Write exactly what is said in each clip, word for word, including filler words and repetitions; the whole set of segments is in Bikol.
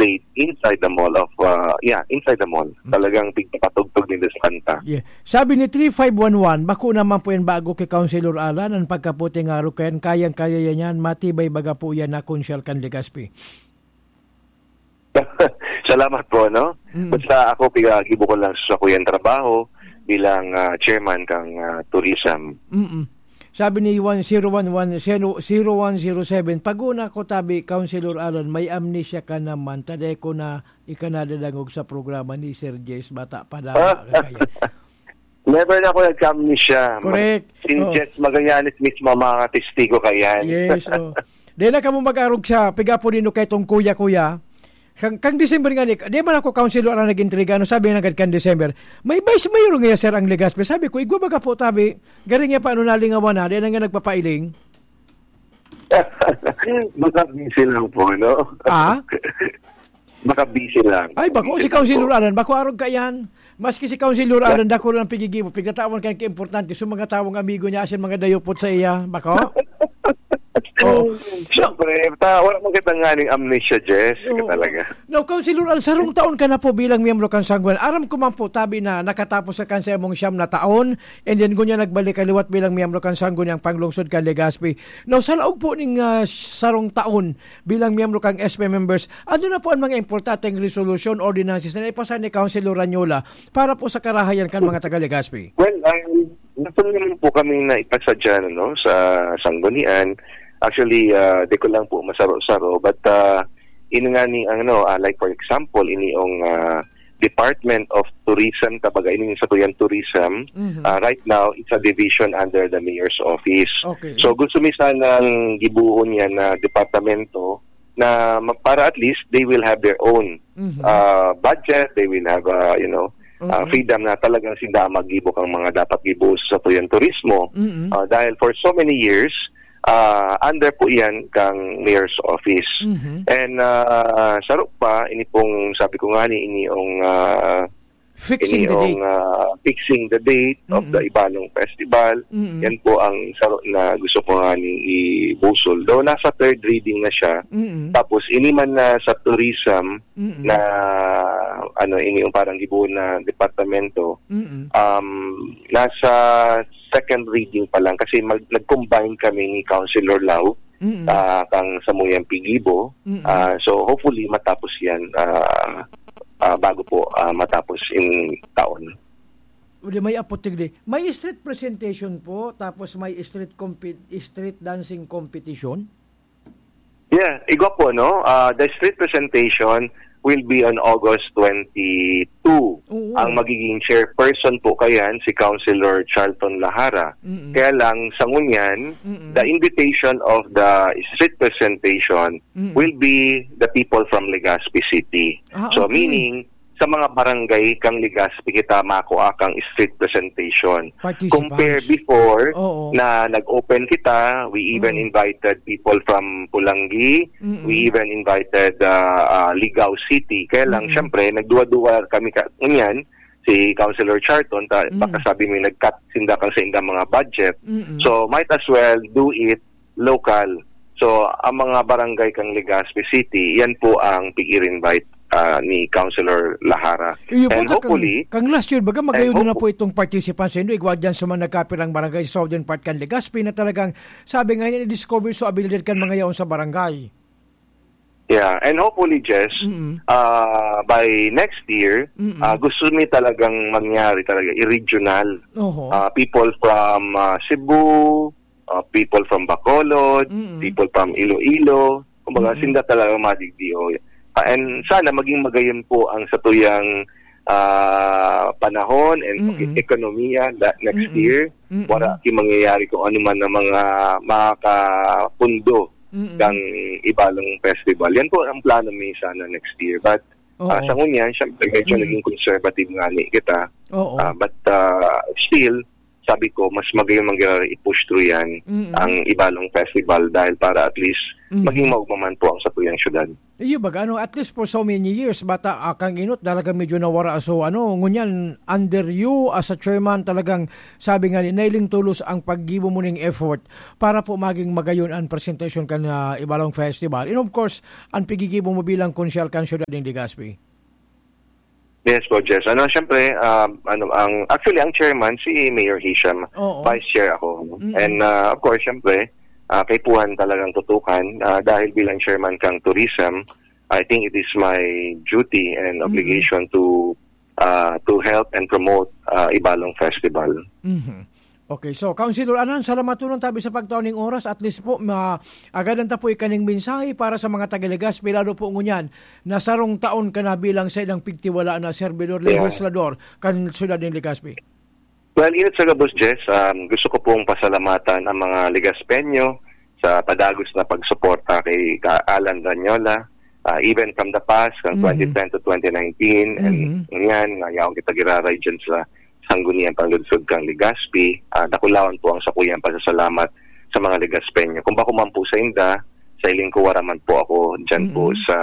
played inside the mall of, uh, yeah, inside the mall. Talagang pigpapatugtog nila sa kanta. Yeah. Sabi ni three five one one, bako naman po yan bago kay Councilor Alan, ang pagkaputi nga araw kayan, kayang-kaya yan yan, matibay baga po yan na konsyal kan Legazpi. Salamat po, no? Mm. Basta ako, pigagibo ko lang sa sakuyang trabaho bilang, ah, chairman kang, ah, tourism. Mm-mm. Sabi ni one zero one one, zero one zero seven, "Pag-una ko tabi, Councilor Alan, may amnesia ka naman. Taday ko na ikanadadangog sa programa ni Sir Jess, bata pa lamang ka kaya." Never na ako nagkamnesia. Correct. Si Oh. Jess Magallanes mismo ang makakatestigo kayan. Yes, oh. Di na kamo mag-arog siya, piga po nino kay tong kuya-kuya. Kang, kang December nga ni, di man ako councilor ang nag-intriga, ano sabi nga agad kang December? May vice mayor nga, sir, ang Legazpi. Sabi ko, "Igwa baga po, tabi." Garing niya pa, ano, nalingawan na, di na nga nagpapailing. Baka busy lang po, no? Ah? Baka busy lang. Ay, bako, si Busy lang Councilor po. Alan, bako arog ka yan. Maski si Councilor Alan, dako lang pigigibo, pigtatawan ka ng importante sa mga tawong amigo niya, asin mga dayupot sa iya, bako? Oh. Siyempre, ta, wala man kita nga ning amnesia, Jess. Oo. Ka talaga. No, Councilor Alan, sarong taon ka na po bilang miyembro kan Sanggunian. Aram ko man po, tabi na nakatapos ka kan sa imong siyam na taon, and then gunya nagbalik ka liwat bilang miyembro kan Sangguniang Panglungsod kan Legazpi. No, sa laog po ning, ah, sarong taon bilang miyembro kang S P members, ano na po ang mga importanteng resolusyon, ordinances na naipasa ni Councilor Ranyola para po sa karahayan kan mga taga Legazpi? Well, um, gusto naman po kami na ipasa dyan, ano, sa Sanggunian. Actually, ah, di ko lang po masaro-saro, but, ah, ini nga ni, ano, ah, like for example, ini yung, ah, Department of Tourism, kumbaga, ini yung sa Tourism. Mhm. Ah, right now, it's a division under the mayor's office. Okay. So, gusto mi sanang gibuon yan na departamento na ma-, para at least they will have their own, Mhm. ah, budget, they will have, ah, you know, ah, Oo. freedom na talagang sinda ang maggibo kang mga dapat gibo sa tuyang turismo. Mm-mm. Ah, dahil for so many years, ah, under po yan kang mayor's office. Mhm. And, ah, saro pa, ini pong, sabi ko nga ni, ini yung, ah, Fixing ini the yung, date. ah, fixing the date of the Mm-mm. Ibalong Festival. Mm-mm. Yan po ang saro na gusto ko nga ni ibusol. Though nasa third reading na siya. Mm-mm. Tapos, ini man na sa tourism, Mm-mm. na, ano, ini yung parang gibuon na departamento, Mm-mm. um, nasa second reading pa lang kasi mag-, nag-combine kami ni Councilor Lau, Mm-mm. ah, kang Samuyang Pigibo. Mm-mm. Ah, so, hopefully, matapos yan, ah, ah, bago po, ah, matapos in taon. Uli, may aputig di. May street presentation po, tapos may street compi-, street dancing competition? Yeah, igwa po, no? Ah, the street presentation will be on August twenty-two. Oo. Ang magiging chairperson po kayan, si Councilor Charlton Lahara. Mm-mm. Kaya lang, sa ngunyan, Mm-mm. the invitation of the street presentation Mm-mm. will be the people from Legazpi City. Ah, So, okay. meaning, sa mga barangay kang Legazpi kita makua kang street presentation. Participants. Compare before Oo. na nag-open kita, we even Mm. invited people from Pulangi, Mm-mm. we even invited, ah, ah, Ligao City. Kaya lang, Mm-mm. syempre, nagduwa-duwa kami ka-, ngunyan, si Councilor Charlton, ta-, Mm. baka sabi mo, nag-cut sinda kang sa indang mga budget. Mm-mm. So, might as well do it local. So, ang mga barangay kang Legazpi City, yan po ang pig-invite, ah, ni Councilor Lahara. Iyo po, And ta-, kang, hopefully, kang last year, baga, magayon and na na hope- po itong participants sa inyo. Igwa dyan sa mga nagkapirang barangay sa southern part kan Legazpi na talagang, sabi nga niya, discover so abilidad kan mga yaon sa barangay. Yeah, and hopefully, Jess, Mm-mm. ah, by next year, Mm-mm. ah, gusto mi talagang mangyari talaga, i-regional. Oho. Ah, people from, ah, Cebu, ah, people from Bacolod, Mm-mm. people from Iloilo. Kumbaga, Mm-mm. sinda talaga madigdi, oh. Ah, and sana maging magayon po ang satuyang, ah, panahon and Mm-mm. ekonomiya that next Mm-mm. year. Mm-mm. Wala ki mangyayari kung ano man ang mga makakapundo Mm-mm. kang Ibalong Festival. Yan po ang plano mi sana next year. But, Oo. ah, sa ngunyan, syempre, medyo Mm. naging conservative nga ni kita. Oo. Ah, but, ah, still, sabi ko, mas magayon man giraray i-push through yan, Mm-mm. ang Ibalong Festival, dahil para at least Mm. maging maugma man po ang satuyang syudad. Iyo baga, ano, at least for so many years, bata, ah, kang inot, talagang medyo nawara. So, ano, ngunyan, under you as a chairman, talagang, sabi nga ni, nailing tulos ang paggibo mo ning effort para po maging magayon ang presentasyon kan, ah, Ibalong Festival. And of course, ang pigigibo mo bilang konsyal kan Siyudad nin Legazpi. Yes po, Jess. Ano, siyempre, um, ano, ang, actually, ang chairman, si Mayor Hisham, Oo. vice chair ako. Mm-mm. And, uh, of course, siyempre, uh, kaipuhan talagang tutukan, uh, dahil bilang chairman kang tourism, I think it is my duty and Mm-mm. obligation to, uh, to help and promote, uh, Ibalong Festival. Mhm. Okay, so, Councilor Anan, salamaton tabi sa pagtao ning oras. At least po, ma-, agadan ta po ikaning mensahe para sa mga taga Legazpi, lalo po ngunyan na sarong taon ka na bilang saindang pigtiwala na servidor, Yeah. legislador kan siyudad nin Legazpi. Well, inot sa gabos, Jess, um, gusto ko pong pasalamatan ang mga Legazpeño sa padagos na pagsuporta kay Ka-, Alan Ranyola, uh, even from the past, from Mhm. twenty ten to twenty nineteen, and Mhm. ngayon, nga yaon kita giraray dyan sa Sangguniang Panlunsod kang Legazpi. Ah, dakulaon po ang sakuyang pasasalamat sa mga Legazpeño. Kung bako man po sa inda, sa iling ko wara man po ako dyan po Mm-mm. sa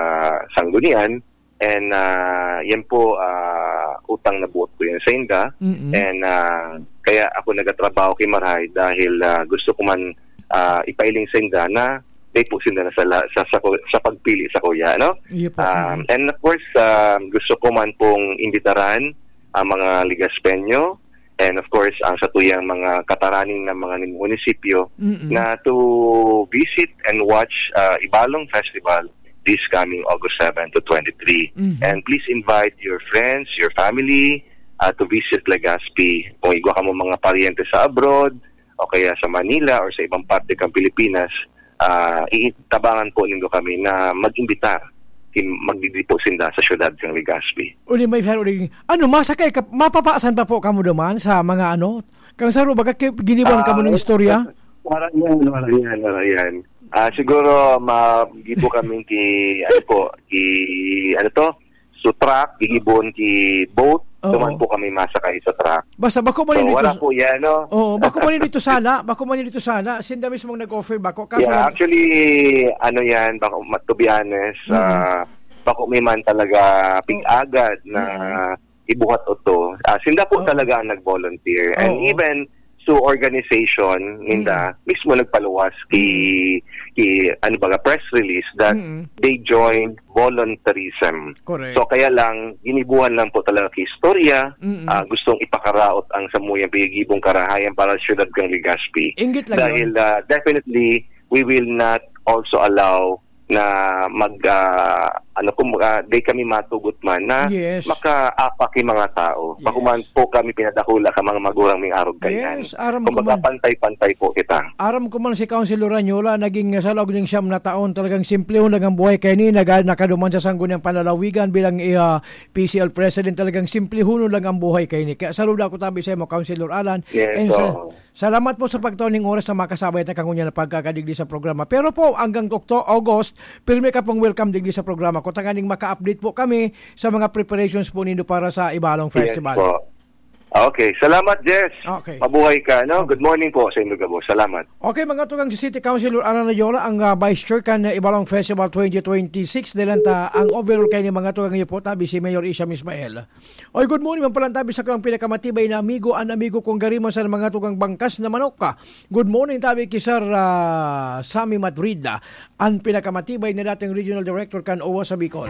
Sanggunian. And, ah, yan po, ah, utang na buot ko yan sa inda. Mm-mm. And, ah, kaya ako nagatrabaho ki marahay dahil, ah, gusto ko man, ah, ipailing sa inda na may po sinda na sa, la- sa, sa, sa pagpili sa kuya, no? Iyo po. Um, Mm. and of course, um, gusto ko man pong imbitaran ang mga Legazpeño and of course, ang satuyang mga kataraning na mga munisipyo Mm-mm. na to visit and watch, uh, Ibalong Festival this coming August seven to twenty-three. Mhm. And please invite your friends, your family, uh, to visit Legazpi. Kung igwa kamo mga paryente sa abroad, o kaya sa Manila or sa ibang parte kang Pilipinas, ah, iitabangan po nindo kami na mag-imbitar kin magdidipo sinda sa siyudad kang Legazpi. Uli, may saro uli. Ano, masakay ka, mapapasan pa po kamo duman sa mga ano? Kang saro, baga ki-, giniwan kamo Ah, ng istorya? Wala yan, wala yan, wala yan. Ah, siguro, magibo kami ki, ano po, ki, ano to? So, truck, gigibon ki boat, Oo. duman po kami masakay sa truck. Basta bako man So, yun dito wala sa po yan, no? Oo, bako man yun dito sala, bako man yun dito sala, sinda mismong nag-offer bako. Kaso Yeah, lang actually, ano yan, bako, ma-, to be honest, Mm. ah, bako may man talaga pig-agad na Mm. ibuhat oto. Ah, sinda po Oo. talaga ang nag-volunteer. And Oo. even so organization ninda Mm. mismo nagpaluwas ki, Mm. ki, ano ba, press release that Mm. they joined voluntarism. Correct. So, kaya lang, ginibuhan lang po talaga ki istorya, Mm. ah, gustong ipakaraot ang samuyang pigigibong karahayan para sa siyudad kang Legazpi. Inggit lang Dahil, yun. ah, definitely, we will not also allow na mag, ah, ano, kumbaga, di kami matugot man na Yes. makaapak yung mga tao. Yes. Bako man po kami pinadakula ka mga magurang ming arog kaiyan. Yes, aram ko Kumbaga, man. pantay-pantay po kita. Aram ko man si Councilor Ranyola, naging sa laog ning siyam na taon, talagang simplehon lang ang buhay kaini, naga-, nakaduman sa Sangguniang Panlalawigan bilang, eh, ah, P C L President, talagang simplehon lang ang buhay kaini. Kaya saludo ako tabi sa imo, Councilor Alan. Yes, And sa, oo. Salamat po sa pagtao ning oras sa makasabay ta kangunyan na pagkakadigdi sa programa. Pero po, hanggang Okto-, August, pirmi ka pong welcome digdi sa programa ko. Tanganing maka-update po kami sa mga preparations po nindo para sa Ibalong Yes Festival. po. Okay. Salamat, Jess. Okay. Mabuhay ka, no? Okay. Good morning po sa inyo gabos. Salamat. Okay, mga tugang, si City Councilor Alan Rayola, ang, ah, Vice Chair kan, ah, Ibalong Festival twenty twenty-six. Dalan ta ang overall kay ni mga tugang niyo po, tabi si Mayor Isham Ismael. Oy, good morning, man palantabi sa kong pinakamatibay na amigo, an amigo kong gariman sa mga tugang bangkas na manok. Good morning, tabi ki Sir, ah, Sammy Madrid, ah, an pinakamatibay na dating regional director kan OWWA sa Bicol.